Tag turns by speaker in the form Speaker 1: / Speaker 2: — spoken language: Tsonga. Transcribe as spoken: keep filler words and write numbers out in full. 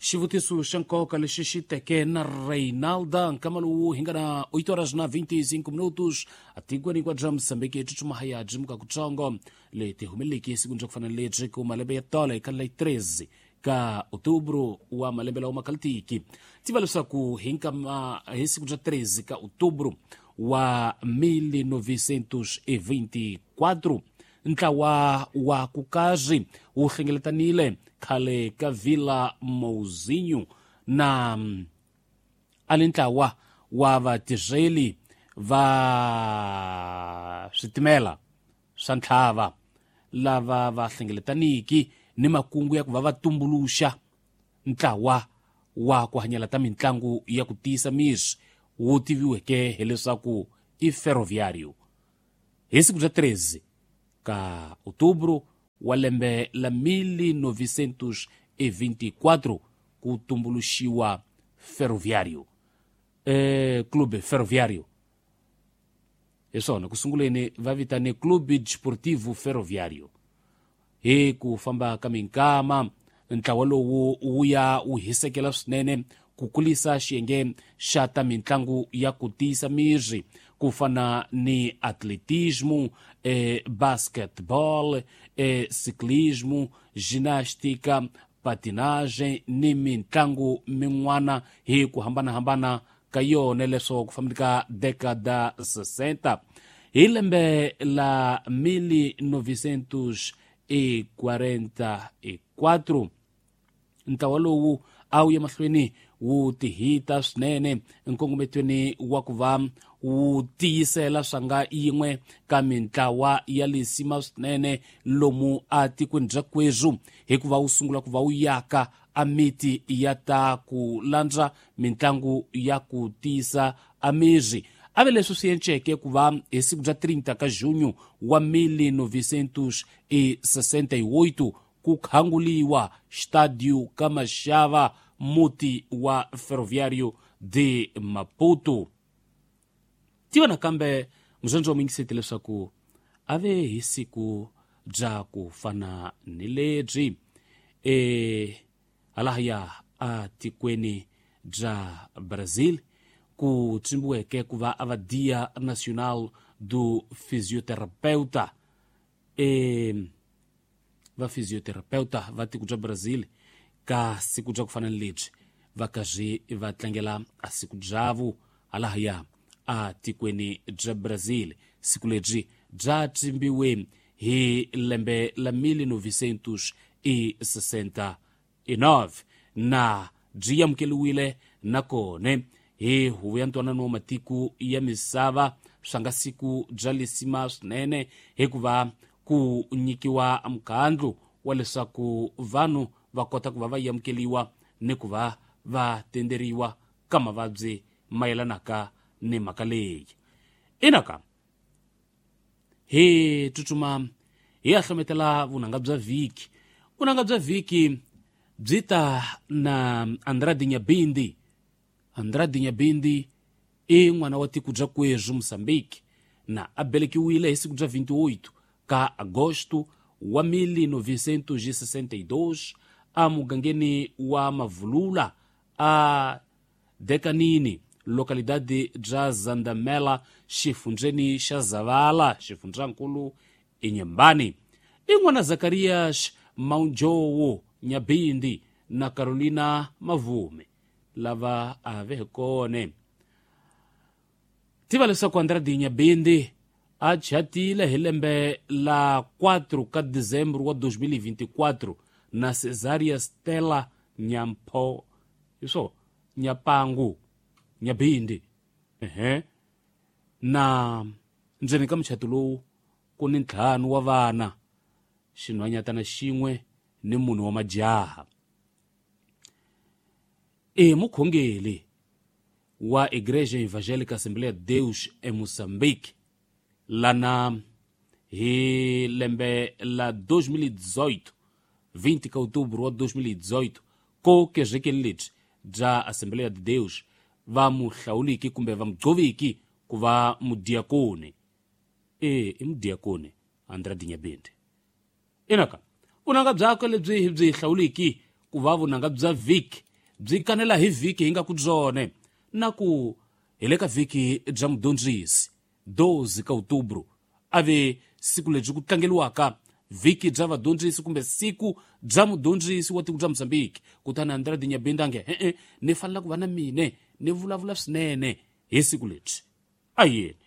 Speaker 1: Xivutiso xa nkoka lexi xi teke na Reinalda nkama lowu hi nga na oito horas na vinte e cinco minutos atikweni kwa bya Mozambique tsutsuma haya byimuka kutsongo leti humeleleke esikwini bya ku fana lebyi ku malembe ya tolo eka la treze ka outubro wa malembe lawa makalitiki. Tiva leswaku hi nkama hi siku bya treze ka outubro wa mil novecentos e vinte e quatro ntlawa wa kukazi wu hlengeletanile khale ka Vila Mouzinho na ali ntlawa wa vatirheli va switimela swa ntlhava lava va hlengeletaniki ni makungu ya ku va va tumbuluxa ntlawa wa ku hanyela ta mintlangu ya ku tiyisa miri wu tiviweke hileswaku i Ferroviário. Hi siku bya treze ka outubro wa lembe la mil novecentos e vinte e quatro ku tumbuluxiwa Ferroviário, eh, Clube Ferroviário. Hi swona ku sunguleni va vitane Clube Desportivo Ferroviário. Hi ku famba ka minkama ntlawa lowu wu ya wu hisekela swinene ku kulisa xiyenge xa ta mintlangu ya ku tiyisa miri ku fana ni atletismo, eh, basketball, eh, ciclismo, ginástica, patinagem ni mintlangu min'wana hi ku hambanahambana ka yona leswo ku fambeni ka década sessenta. Hi lembe la mil novecentos e quarenta e quatro ntlawa lowu a wu ya mahlweni wu tihita swinene nkongometweni wa ku va wu tiyisela swanga yin'we ka mintlawa ya lisima swinene lomu a tikweni bya kwezu hikuva wu sungula ku va wu yaka a miti ya ta ku landza mintlangu ya ku tiyisa a miri. Ave leswi swi enceke ku va hi siku bya trinta ka junho wa mil novecentos e sessenta e oito ku khanguliwa Estádio Kamachava, muti wa Ferroviário de Maputo. Tiva nakambe muzondzo wa mingiseti leswaku ave hi siku bya ku fana ni lebyi e halahaya a tikweni bya Brazil ku tsimbiweke ku va a va Dia Nacional do Fisioterapeuta. E va fisioterapeuta va tiko bya Brazil ka siku bya ku fana ni lebyi va karhi va tlangela a siku byavu halahaya a tikweni bya Brazil. Siku lebyi bya tsimbiwe hi lembe la mil novecentos e sessenta e nove na byi amukeliwile nakona hi huvo ya ntwanano wa matiko ya misava swa nga siku bya lisima swinene hikuva ku nyikiwa mukhandlu wa leswaku vanhu va kota ku va va amukeliwa ni ku va va tenderiwa ka mavabyi mayelanaka ni mhaka leyi. Inaka hi tsutsuma hi ya hlometela vunanga bya vhiki. Vunanga bya vhiki byi ta na Andrade Nyabindi. Andrade Nyabindi i n'wana wa tiko bya kwezu Mozambique na a belekiwile hi siku bya vinte e oito ka agosto wa mil novecentos e sessenta e dois a mugangeni wa Mavulula a Dekanini, localidade bya Zandamela, xifundzheni xa Zavala, xifundzankulu Inhambane. I n'wana Zacarias Maunjowo Nyabindi na Carolina Mavume lava a ve kone. Tiva leswaku Andrade Nyabindi a chatile hi lembe la quatro ka dezembro wa dois mil e vinte e quatro na Cesaria Stella Nyampho iswo Nyapangu Nyabindi. Ehe na ndzeni ka muchato lowu ku ni ntlhanu wa vana, xinhwanyatana xin'we ni munhu wa majaha. E mukhongeli wa Igreja Evangélica Assembleia de Deus em Moçambique lana hi lembe la dois mil e dezoito, vinte de outubro de dois mil e dezoito, ko kezekeni lebyi bya Assembleia de Deus va muhlawuliki kumbe va mugcoviki ku va mudiakoni. E i mudiakoni Andrade Nyabindi. Inaka vunanga byakwe lebyi hi byi hlawuliki ku va vunanga bya vhiki byi kanela hi vhiki hi nga ku byone na ku hi le ka vhiki bya mudyondzisi doze ka outubro a ve siku lebyi ku tlangeliwaka vhiki bya vadyondzisi kumbe siku bya mudyondzisi wa tiko bya Mozambique. Kutani Andrade Nyabenda nge e-e ni fanela ku va na mine ni vulavula swinene hi siku lebyi. A yeni.